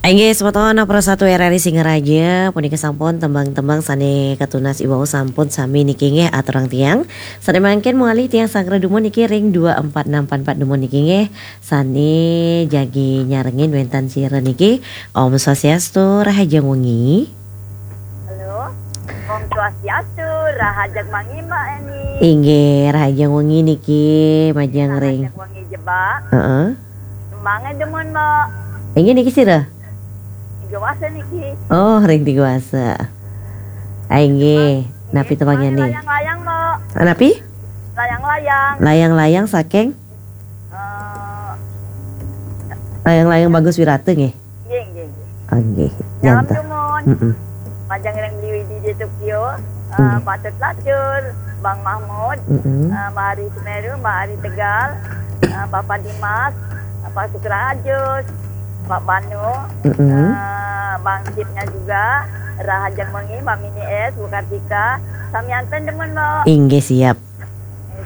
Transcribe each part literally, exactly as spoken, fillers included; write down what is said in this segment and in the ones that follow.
Inggih, semeton Pro satu R R I Singaraja, punika sampun tembang-tembang sane katunas iwau sampun sami niki nggih aturang tiang. Sane mangkin mawali tiang sanggra dumun niki ring dua empat enam empat empat dumun niki nggih. Sane jagi nyarengin wenten sira niki. Om Swastiastu, rahajeng wengi. Halo. Om Swastiastu, rahajeng wengi Mbak Eni. Inggih, rahajeng wengi niki majeng ring. Rahajeng wengi Jebak. Heeh. Tembangnya demen Mbak. Inggih niki sira? Tiga wasa niki. Oh, ring tiga wasa. Ah, inggih. Napi tembangnya nih? Layang-layang Mbak. Ah, napi? Layang-layang. Layang-layang saking? Eh, Layang-layang Bagus Wirata nggih. Nggih, nggih, nggih. Ah, nggih. Nyalam janten. Dumun. Mm-mm. Majeng ring Beli Widi di Tokyo, eh, mm, Patut Lacur, Bang Mahmud, mm-mm, eh, Mbak Ari Semeru, Mbak Ari Tegal, eh, Papa Dimas, Pak Sukra Ajus, Pak Banu, mm-mm, eh, Bang Cipnya juga, rahajeng wengi, Mbak Mini S, Bu Kartika, samianten demen, Mbak. Inggih, siap.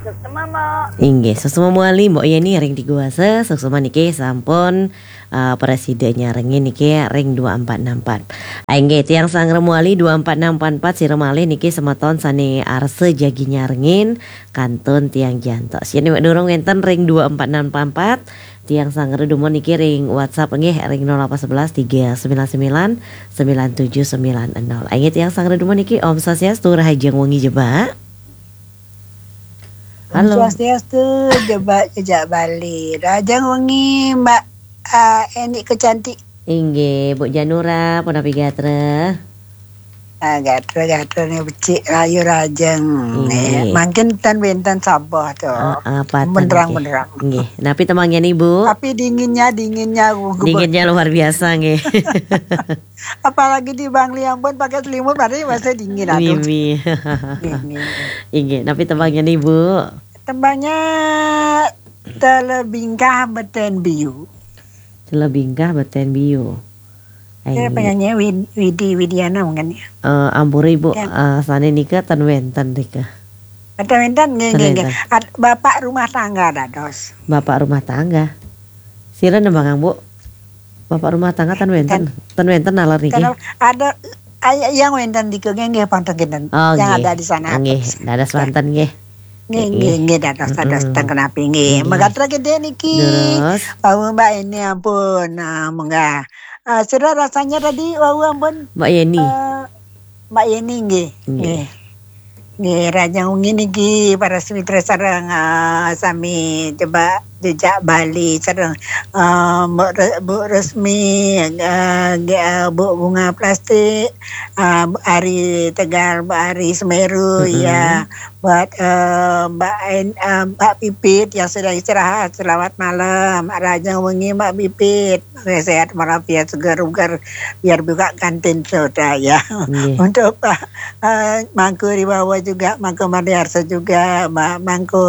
Suksma, Mbak. Inggih, suksma mawali, Mbok Yeni ring tiga wasa, suksma niki sampun, eh, prasida nyarengin niki ring dua empat enam empat. Ah, inggih, tiang sanggra mawali dua empat enam empat empat, sira malih niki semeton sane arsa jagi nyarengin, kantun tiang jantos. Yen durung wenten ring dua empat enam empat empat, tiang sanggra dumun niki ring WhatsApp nggih, ring nol delapan sebelas tiga sembilan sembilan sembilan tujuh sembilan nol. Inggih, tiang sanggra dumun niki, Om Swastiastu, rahajeng wengi Jebak. Halo. Om Swastiastu, Jebak Jejak Bali. Rahajeng wengi, Mbak, ah, Eni Kecantik. Inggih, Bu Janura, punapi gatra? Ah, gatra-gatra nih becik rayu rahajeng. Inggih. Eh, mangkin ten wenten sabah to. Ah, ah, patan, benerang, nggih. Benerang. Nggih. Napi tembangnya nih, Bu? Tapi dinginnya, dinginnya, uh, gebet. Dinginnya luar biasa, nggih. Apalagi di Bangli ampun pakai selimut, padahal masih dingin, aduh. Mimi. Dingin. Inggih, napi tembangnya nih, Bu? Tembangnya Telebingkah Beten Biu. Telebingkah Beten Biu. Saya penyanyi Wid-, Widi Widiana mungkin ya. Eh, ampura Ibu, ya. Eh, sane nika ten wenten nika. Ten wenten, nggih, nggih, nggih. Ten wenten. Ad-, bapak rumah tangga dados. Bapak rumah tangga. Sira nembang, Bu? Bapak rumah tangga ten wenten. Ten wenten naler niki. Kalau ada, ay-, yang wenten nika nggih, nggih, pantun kinten. Oh, yang nggih. Ada di sana. Nggih, dados wonten nggih. Nggih, nggih, nggih, dados, dados, mm-mm, ten kenapi nggih. Nggih. Megatra gede niki. Terus? Wau Mbak Eni ampun, ah, munggah. Ah, sira rasanya tadi wau ampun. Mbak Yeni. Eh, Mbak Yeni nggih. Nggih. Nggih. Nggih, rahajeng wengi niki para semitra sareng, ah, sami coba jejak Bali sareng, ah, Mbok Re-, Bu Resmi, ah, nggih, ah, Bu Bunga Plastik, ah, Bu Ari Tegal, Bu Ari Semeru, mm-mm, ya. Buat, eh, Mbak En-, eh, Mbak Pipit yang sudah istirahat, selamat malam. Rahajeng wengi Mbak Pipit. Sehat walafiat, seger bugar, biar buka kantin soda ya. Nggih. Untuk Pak, eh, Mangku Riwawa juga, Mangku Made Arsa juga, Mbak Mangku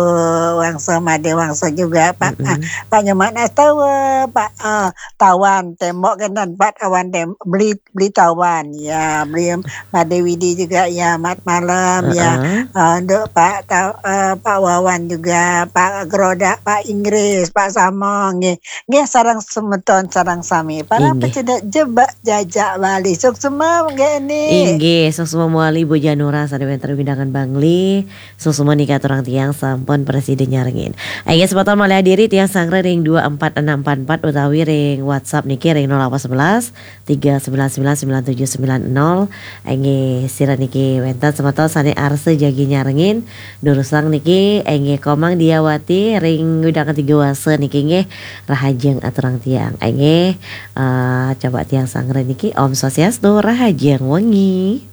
Wangsa Made Wangsa juga, Pak, mm-mm, eh, Pak Nyoman Astawa, Pak, eh, Tawan, tembok kan, Pak Tawan tem-, beli Beli Tawan, ya, beli Mbak Dewi di juga, ya, mat malam, ya. Heeh. Eh, untuk Pak Taw-, eh, Pak Wawan juga, Pak Gerodak, Pak Inggris, Pak Samong, nggih. Nggih, sareng semeton, sareng sami. Para, inggih, pecedek jebak jajak Bali. Suksma, nggih, ini. Inggih, suksma mawali Bu Janura, sane wenten wewidangan Bangli. Suksma nika aturang tiang sampun prasida nyarengin. Inggih, semeton malih adiri tiang sanggra ring dua empat enam empat empat utawi ring WhatsApp niki ring nol delapan sebelas tiga sembilan sembilan sembilan tujuh sembilan nol. Inggih, sira niki wenten semeton sane arsa jagi nyarengin, durusang niki, inggih, Komang Diawati ring wewidangan tiga wasa niki nggih, rahajeng aturang tiang. Inggih, eh, coba tiang sanggra niki, Om Swastiastu, rahajeng wengi.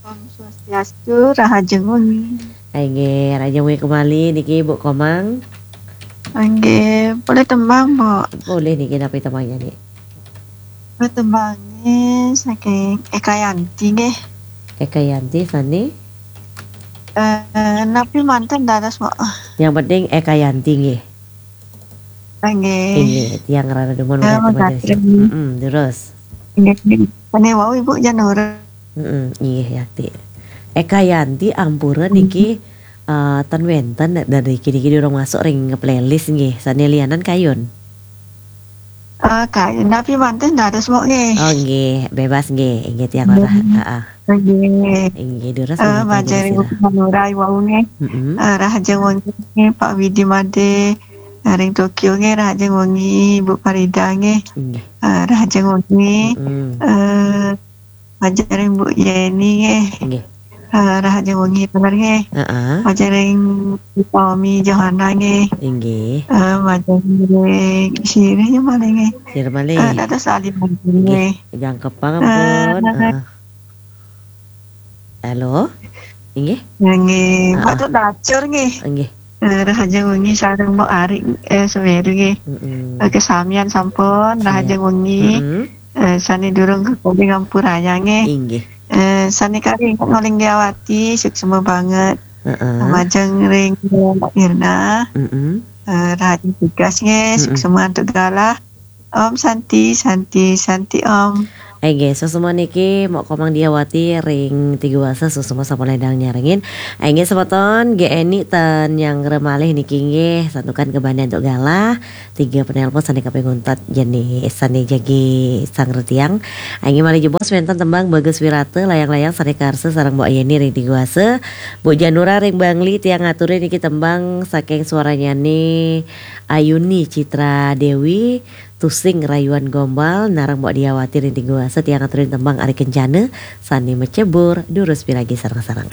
Om Swastiastu, rahajeng wengi. Inggih, rahajeng wengi kembali niki Bu Komang. Inggih, boleh tembang, Bu? Boleh niki, napi tembangnya nih? Tembangnya saking Eka Yanti nggih. Eka Yanti sane? Eh, napi manten dados, Bu? Yang penting Eka Yanti nggih. Nggih. Nggih, tiang rada demen. Ya, kata Mas Satri. Mm-mm, terus. Nggih, nggih. Sane wau Ibu Janura. Mm-mm, nggih, Yakti. Eka Yanti ampura niki, eh, ten wenten dari niki, niki durung masuk ring playlist nggih. Sane lianan kayun. Eh, kayu napi manten dados mok nggih. Oh nggih, bebas nggih. Inggih tiang Lurah. Heeh. Nggih. Inggih durus Eh, menika majeng jadi ring sirah. Ibu Lurah wau nggih. Mm-mm. Eh, rahajeng wengi Pak Widi Made. Eh, ring Tokyo nggih rahajeng wengi Ibu Farida nggih. Inggih. Eh, rahajeng wengi. Mm-mm. Eh, majeng ring Bu Yeni nggih. Inggih. Eh, rahajeng wengi taler nggih. Heeh. Majeng ring Tommy Johana nggih. Inggih. Eh, majeng ring sirih ya malih nggih. Sira malih. Eh, dados lali majeng nggih. Jangkepang ampun. Heeh. Halo. Inggih. Nggih, Ah. Pak Dacur nggih. Inggih. Eh, rahajeng wengi sareng Mbok Ari eh Semeru nggih. Mm-mm. Eh, kesamian sampun rahajeng wengi. Mm-mm. Eh, sane durung kekalih ngampuraya nggih. Inggih. Eh, sane kari Inggih Awati suksma banget. Heeh. Majeng ring Mbok Irna. Mm-mm. Eh, rahajeng tugas nggih, Mm-mm. suksma antuk galah. Om Santi, Santi, Santi Om. Inggih, suksma niki Mbok Komang Diawati ring Tiga Wasa suksma sampun ledang nyarengin. Inggih semeton, G N I ten yang remalih niki nggih santukan kebanding antuk galah. Tiga penelpon sane kaping untat jani sane jagi sang retiang. Inggih malih jebos wenten tembang Bagus Wirata layang-layang sane karsa sareng Mbok Yeni ring Tiga Wasa. Bu Janura ring Bangli tiang aturi niki tembang saking suaranyane Ayuni Citra Dewi, Tusing Rayuan Gombal, nareng Mbok Diawati ring Tiga Wasa tiang aturi tembang Ari Kencana sane macebur durus piragi sareng-sareng.